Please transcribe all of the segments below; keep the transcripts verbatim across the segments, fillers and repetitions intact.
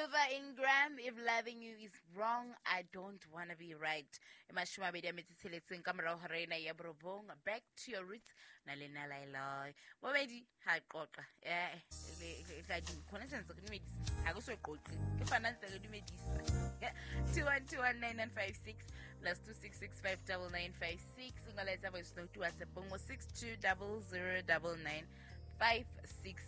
Luther Ingram, if loving you is wrong, I don't wanna be right. E mashome a mabedi a metso e tsheletseng ka morao hora ena ya borobong. Back to your roots na le nna Laelai. Bobedi ha qoqa. Eh, le tla di khona sentse re dumedisa. Ha ke so qoqe. Ke fana ntse re dumedisa. two one two one nine nine five six plus two six six five nine nine five six. O nga laetsa voice note WhatsApp ngo six two zero zero nine nine five six.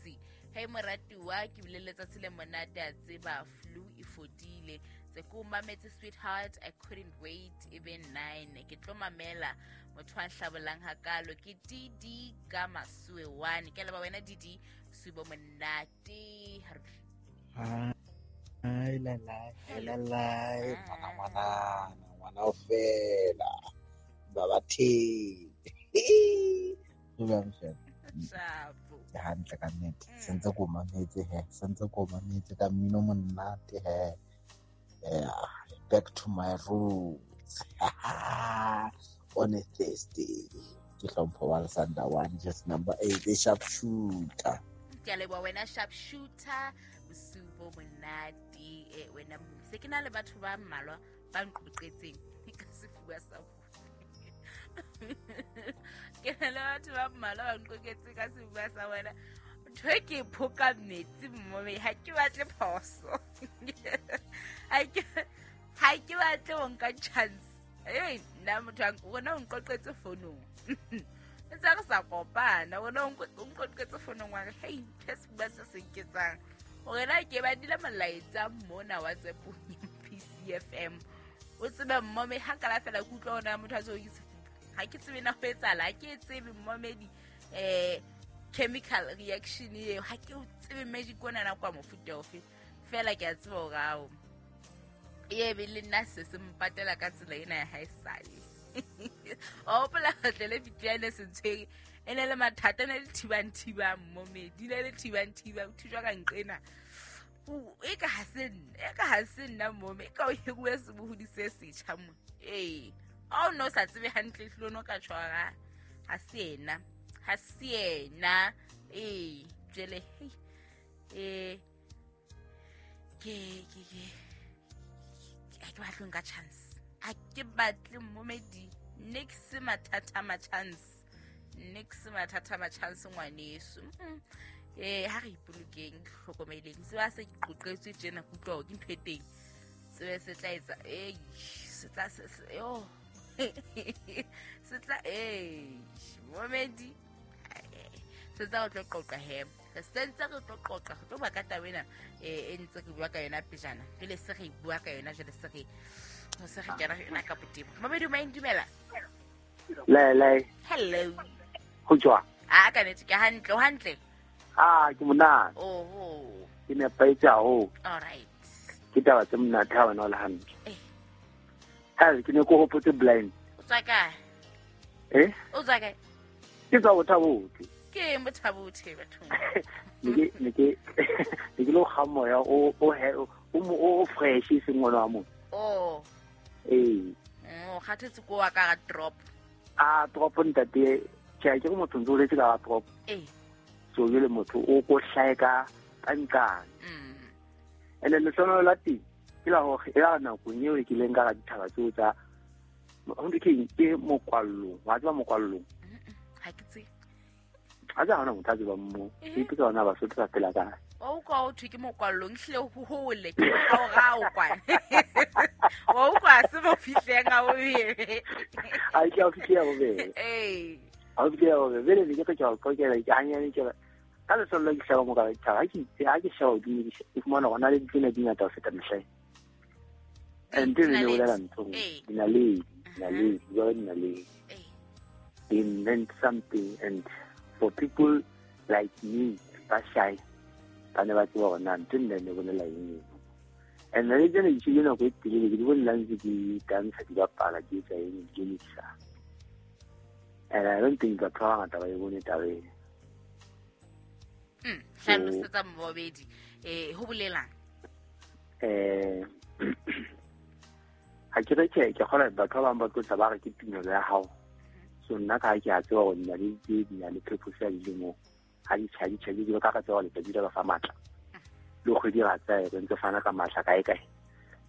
Hey moratuwa, ke bile letsatsi le monate a tseba flu e fodile. Tse ko mametse sweetheart, I couldn't wait even nine. Ke tlo mamela motho a hlabolang hakalo ke D D ka Masue one. Ke leba wena D D, subo monate. Ai la la la la ngwana ngwana ngwana o fela baba the. Ke fela. Shapo. Ke hantle ka nnete. Sentse ko mametse he, sentse ko mametse ka mmino monate he. Yeah, back to my roots. On a Thursday. Ke hlompho wa Sanda one, just number eight, the sharp shooter. Ke a leboha wena sharp shooter, bosupo monate eh wena se ke na le batho ba mmalwa ba nqoqetseng ka sefuba sa bona. Ke na le batho ba mmalwa ba nqoqetse ka sefuba sa bona. Ntho e ke phoka metsi mme ha ke batle phoso. Ha ke ha ke batle ho nka chance. Hey, nna motho a wena o nqoqetse founong. Ntse re sa kopana, wena o nqoqetse founong wa re hey, ke sefuba se se nketsang. Hore na ke badile molaetsa mona WhatsApp P C F M. O tsebe mmome ha nka la fela ke utlwa ona motho a tseo ke sefuba. Ha ke tsebe na ho etsahala, ha ke tsebe mmomedi eh chemical reaction eo, ha ke tsebe magic ona na kwa mofuta ofe. Fela ke a tseba hore ao e be le nna se se mpatela ka tsela ena ya haesale. O hopola tle le bitjane se ntshwere e ne le mathata ne le thibang thibang mmomedi ne le thibang thibang thujwa ka nqena. E ka ha se nna, e ka ha se nna mmome, e ka o hiruwe sebohodi se setjha mo. Ee, o no sa tsebe hantle hlolo no ka tshwara. Ha se ena, ha se ena. Ee, jele hey. Eh ke ke ke ha ke batle nka chance. Ha ke batle mmomedi next mathata ma chance. Next mathata ma chance ngwaneso. Eh ha re ipolokeng hlokomeleng. Se ba se qoqetswe tjena ke utlwa ke ntho e teng. Se se tla etsa eh se tla se yo. Se tla eh momedi se tla o tlo qoqa he. Re sentse re tlo qoqa re tlo bua ka taba ena eh e ntse re bua ka yona pejana. Pele se re bua ka yona jwale se re se re kena yona ka botebo. Momedi o maindumela. Le le. Hello. Ho jwang? Ah ka nete ke hantle, o hantle. Ah ke monate. Oho. Ke nepahetse haholo. All right. Ke taba tse monate ha wena o le hantle. Eh. Ha ke ne ke hopotse blind. O tswa kae? Eh? O tswa kae? Ke tswa Bothabothe. Ke eng Bothabothe bathong? Ne ke ne ke ne ke lo kga moya o o o o fresh e seng ngwana wa motho. Oh. Eh. O kgathetse ko wa ka ga drop. Ah drop ntate. Ke ke motho ntse o letse ka drop. Eh. So jele motho o ko hlae ka ka nqane. Mm. Ene lehlonolo la teng ke la hore e la nakong eo ke ileng ka ga dithaba tseo tsa ho ntwe ke ke mokwallong, wa tseba mokwallong. Ha ke tsebe. Ha tsa hona motho a tsebang moo. Ke ipotsa hona Basotho ba phela kae. O utlwa ho thwe ke mokwallong, ehlile ho hole ke moraorao kwana. Wa utlwa se mo fihleng ha bobebe. Ha ke a fihle ha bobebe. Eh. Ha o fihle ha bobebe. Bele ne ke re ke a o qoqela ke hanyane ke re ka lesollo ke hlaba mo ka dithaba. Ha ke ha ke sheba hodimo ke fumana hore na le ditsela di ngata ho feta mehleng. And then ne bolela ntho dinaledi, dinaledi, jwale dinaledi. They meant something, and for people like me, ba shy, ba ne ba tseba hore na ntho nna ne bolela eng. And naledi tsena di tshile nako e telele, ke di bone la ntse di tantsha, di bapala, di etsa eng, di mixer. And I don't think batho ba bangata ba e bone taba ena. Mm, hlalosetsa mmobedi, eh ho bolelang? Eh ha ke re ke ke kgona batho ba bang ba tlo tla ba re ke tumelo ya hao. So nna ka ha ke a tseba hore dinaledi tse di na le purpose ya dilemo, ha di tjha di tjha di ka ka tseba letsatsi le ba fa matla. Le kgwedi ra tsaya re ntse fana ka matla kae kae.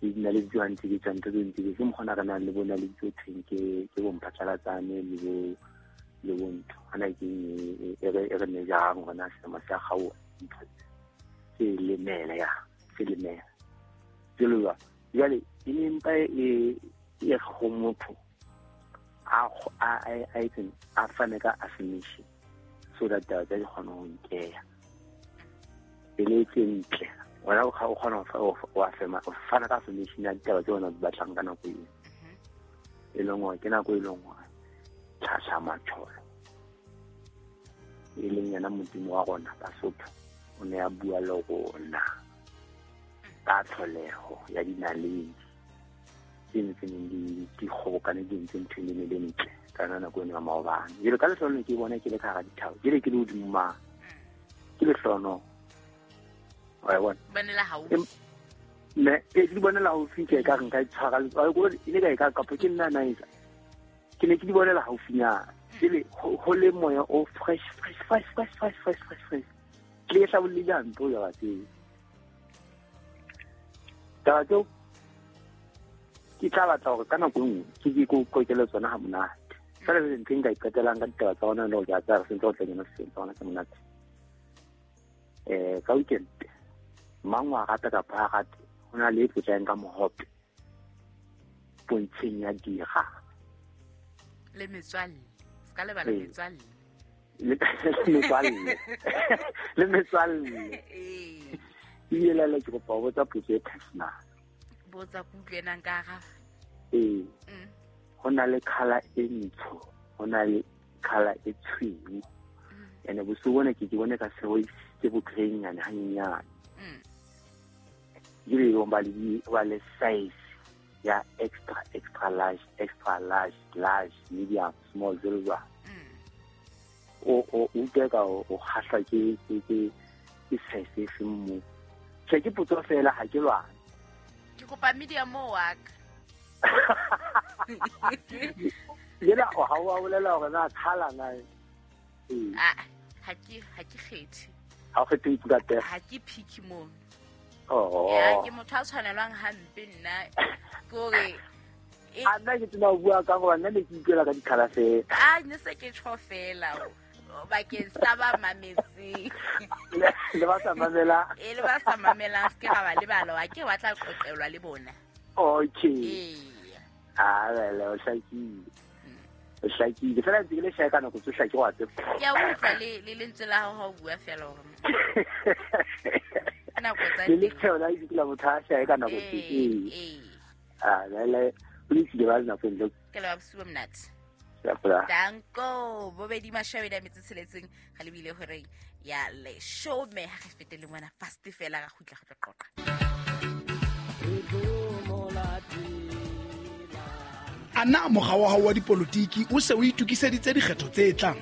Le dinaledi tseo ntse ke tswa ntse ntse ke mokgona re nang le bona le tse thweng ke ke bo mphatlalatsane le bo le bo ntho. Hana ke e re e re ne jang hona selemo sa kgaoha ntho se lemela ya se lemela. Jalo jwale e ne mpa e e go motho a a a itseng a fane ka affirmation so that taba tsa di kgone ho nkeya. Pele tse ntle wena o kgona ho affirma o fana ka affirmation ya ditaba tse wena di batlang ka nako eo. E leng hore ke nako e leng hore tlhahla matsholo e leng yena Modimo wa rona Basotho o ne a bua le rona ka tlholeho ya dinaledi tse ntseng di di kgobokane di ntse ntho e ne le ntle ka yona nako eno ya maobane. Jwale ka lehlohonolo ke bona ke le ka hara dithaba, jwale ke le hodimo mane ke lehlohonolo. Wa bona bonela haufi ne ke di bonela haufi ke ka re nka tshwara e ne ka e ka kapo ke nna na etsa ke ne ke di bonela haufinyana jwale ho le moya o fresh fresh fresh fresh fresh fresh fresh fresh ke le hlabolle jang ntho ya tseo taba tseo ke tla batla hore ka nako e nngwe ke ke ko kokele tsona ha monate. Fela le ntho e nka iqetelang ka ditaba tsa rona le hore ke a tsaya re sentse ho tla kena setseng tsa rona tse monate. Eh ka weekend mang wa rata kapa ha rate ho na le e tlotlang ka mohope pontsheng ya dira le metswalle se ka lebala metswalle le metswalle le metswalle ee ebile lele ke kopa ho botsa potso e personal. Botsa kutlwe nang ka araba. Ee ho na le colour e ntsho ho na le colour e tshweu ene bosiu bona ke ke bone ka seo ke bo greynyana hanyenyane. Jwale ho ba le ba le size ya extra extra large extra large large medium small jwalo jwalo. O o utlwe ka o kgahlwa ke ke ke ke size e feng moo. Tjhe ke potso fela ha ke lwane. Ke kopa medium mo wa ka. Yena o ha o bolela hore na colour na ee. Ah ha ke ha ke kgethe. Ha o kgethe ka teng. Ha ke picky mono. Oh. Ya ke motho a tshwanelwang hampe nna ke hore a nna ke tsena ho bua ka hore nna ne ke utlwela ka di-colour fela. Ah ne se ke tjho fela bakeng sa ba mametseng le ba sa mamela e le ba sa mamelang se ke ra ba lebala wa ke wa tla qoqelwa le bona. Okay. Ee ah le o hlakile o hlakile fela ntse ke le shaya ka nako tsohle ke wa tseba. Ke a utlwa le le lentswe la hao ha o bua fela hore nako tsa le le la itse la motho a shaya ka nako tse ee ee ah le o itse ba nako ntle ke le ba bosiu bo monate. Danko bobedi mashabedi a metsi tsheletseng ga lebile horeng ya leshome ha re fetele ngwana fast fela ga gutla go tla qoqa. Ana mokga wa hao wa dipolotiki o se o itokiseditse dikgetho tse tlang?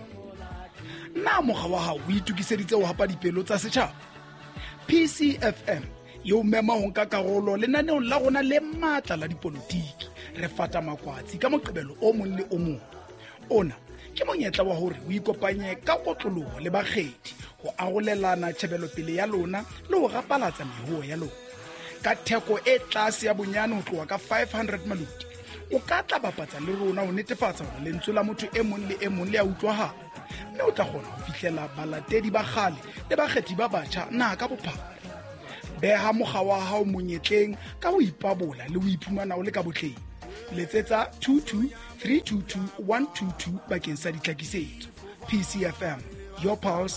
Na mokga wa hao o itokiseditse ho hapa dipelo tsa setjhaba? P C F M e o mema ho nka karolo lenaneong la rona le matla la dipolotiki. Re fata makwatsi ka Moqebelo o mong le o mong. Ona ke monyetla wa hore o ikopanye ka kotloloho le bakgethi ho arolelana tjhebelopele ya lona le ho rapalatsa mehoho ya lona. Ka theko e tlase ya bonyane ho tloha ka five hundred maloti, o ka tla bapatsa le rona ho netefatsa hore lentswe la motho e mong le e mong le a utlwahala, mme o tla kgona ho fihlela balatedi ba kgale le bakgethi ba batjha naha ka bophara. Beha mokga wa hao monyetleng ka ho ipabola le ho iphumana o le ka botleng. Letsetsa two two three two two one two two bakeng sa ditlhakisetso. P C F M, your pulse.